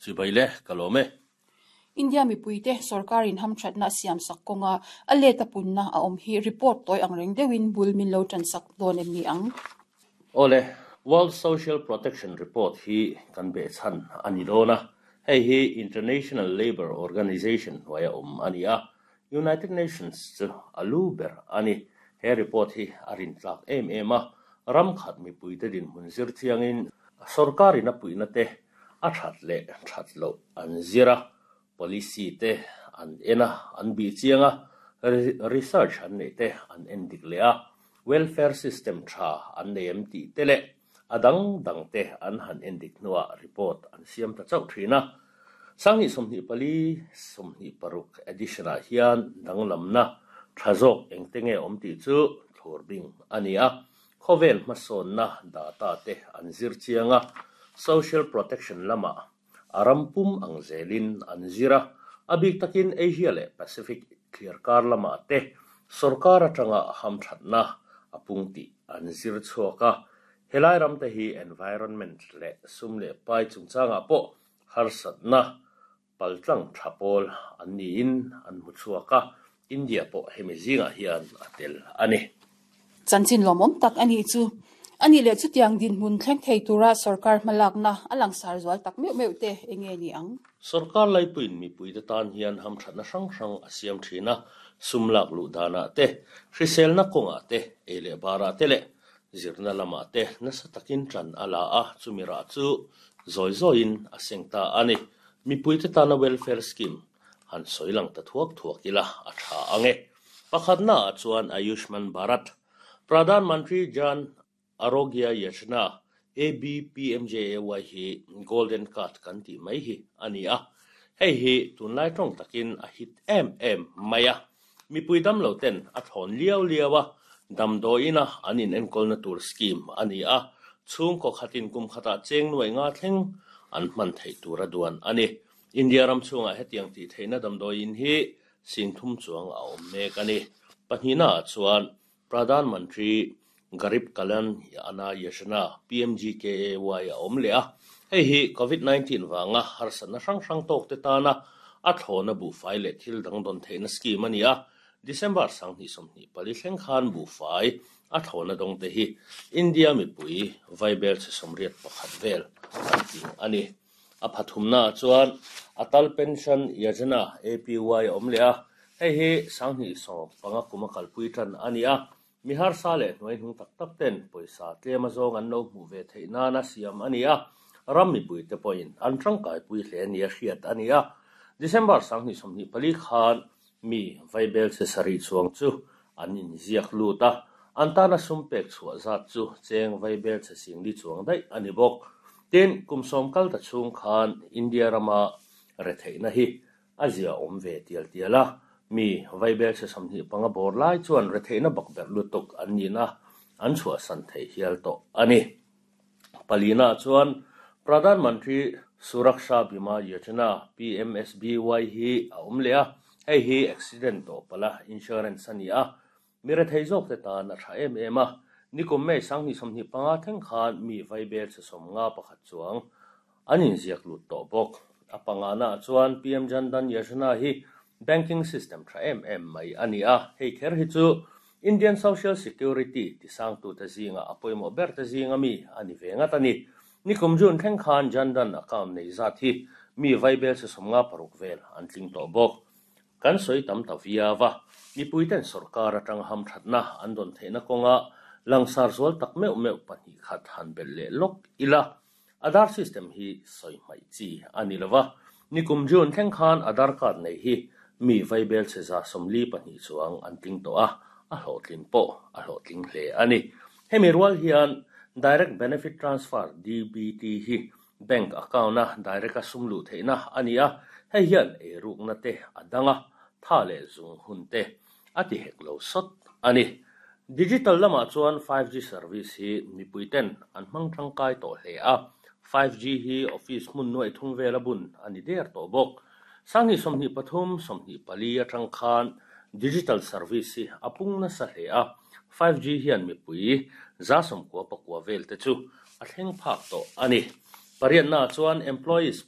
Chibai le, ka lawm e. India mipuite sorkarin hamthatna a siamsak kawnga a let a punna a awm hi report tawi ang reng deuhin bul min lo tansak dawn em ni ang? Awle, World Social Protection Report hi kan behchhan a ni dawn a, hei hi International Labour Organization hnuaia awm a ni a, United Nations chu a lu ber a ni. He report hi a rintlak em em a, ram khat mipuite dinhmun zir chiangin sorkarin a puihna te a that leh that loh an zir a, policy te an en a, an bih chiang a, research an neih te an en dik leh a, welfare system tha an nei em tih te leh a dang dang te an han en dik hnuah report an siam ta chauh thin a. 2024, 26 edition ah hian danglamna tha zawk engte nge awm tih chu thlur bing a ni a. Khawvel hmasawnna data te an zir chiang a, social protection lamah a ram pum ang zelin an zir a, a bik takin Asia leh Pacific thliarkar lamah te sorkar atanga hamthatna a pung tih an zir chhuak a. Helai ram te hi environment leh sum leh pai chungchangah pawh harsatna paltlang tha pawl an niin an hmu chhuak a, India pawh hemi zingah hian a tel a ni. Chanchin lawmawm tak a nih chu. A nih leh chutiang dinhmun thleng thei tura sorkar hmalakna a langsar zual tak meuh meuh te eng nge ni ang? Sorkar laipuiin mipuite tan hian hamthatna hrang hrang a siam thin a, sum lak luh danah te, hriselna kawngah te, ei leh barah te leh zirna lamah te nasa takin tan a la a, chumi rah chu zawi zawiin a seng ta a ni. Mipuite tana welfare scheme han sawi lang ta thuak thuak ila a tha ang e. Pakhatna ah chuan Ayushman Bharat, Pradhan Mantri Jan Arogya Yojana, ABPMJAY, hi Golden Card kan tih mai hi a ni a. Hei hi tunlai tawng takin a hit em em mai a. Mipui damlo ten a thlawn liau liau a, damdawiina an inenkawlna tur scheme a ni a, chhungkaw khatin kum khatah cheng nuai nga thleng an hman theih tura duan a ni. India ram chhungah hetiang tih theihna damdawiin hi 30,000 chuang a awm mek a ni. Pahnihnaah chuan Pradhan Mantri Garib Kalyan Anna Yojana, PMGKAY, a awm leh a, hei hi Covid 19 vanga harsatna hrang hrang tawkte tana a thlawna buhfai leh thil dang dawn theihna scheme a ni a. December 2024 thleng khan buhfai a thlawna dawngte hi India mipui vaibel chhe 81 vel an tling a ni. A pathumnaah chuan Atal Pension Yojana, APY, a awm leh a, hei hi 2015 kuma kalpui tan a ni a. Mi harsa leh hnuaihnung tak tak ten pawisa tlem azawng an lo hmuh ve theih nana siam a ni a, ram mipuite pawhin an tangkaipui hle nia hriat a ni a. December 2024 khan mi vaibel chhe sarih chuang chu an inziak lut a, an tana sum pek chhuah zat chu cheng vaibel chhe singli chuang daih a ni bawk. Tin, kum 10 kal ta chhung khan India rama retheihna hi a zia awm ve tial tial a, mi vaibel chhe 25 bawr lai chuan retheihna bakberh lutuk an nihna an chhuahsan thei hial tawh a ni. Palina chuan Pradhan Mantri Suraksha Bima Yojana, PMSBY, hi a awm leh a, hei hi accident tawh pala insurance a ni a, mi rethei zawk te tan a tha em em a. Nikum May 2025 thleng khan mi vaibel chhe 51 chuang an inziak lut tawh bawk. A pangana chuan PM Jan Dhan Yojana hi banking system tha em em mai a ni a, hei kher hi chu Indian Social Security tisangtute zinga a pawimawh ber te zinga mi a ni ve ngat a ni. Nikum June thleng khan Jan Dhan account nei zat hi mi vaibel chhe 56 vel an tling tawh bawk. Kan sawi tam ta viau a, mipuiten sorkar atang hamthatna an dawn theihna kawnga langsar zual tak meuh meuh pahnih khat han belh leh lawk ila. Aadhaar system hi sawi hmaih chi a ni lova, nikum June thleng khan Aadhaar card nei hi mi vaibel chhe 42 chuang an tling tawh a, a hlawhtlin pawh a hlawhtling hle a ni. Hemi rual hian Direct Benefit Transfer, DBT, hi bank account-a direct-a sum luh theihna a ni a, hei hian eirukna te a dang a, tha leh zung hun te a ti hek lo sawt a ni. Digital lamah chuan 5G service hi mipuiten an hmang tangkai tawh hle a, 5G hi office hmun nuaih thum vel a bun a ni der tawh bawk. 2023, 24 atang khan digital service hi a pung nasa hle a, 5G hian mipui 99% vel te chu a thleng phak tawh a ni. Pariatnaah chuan Employees.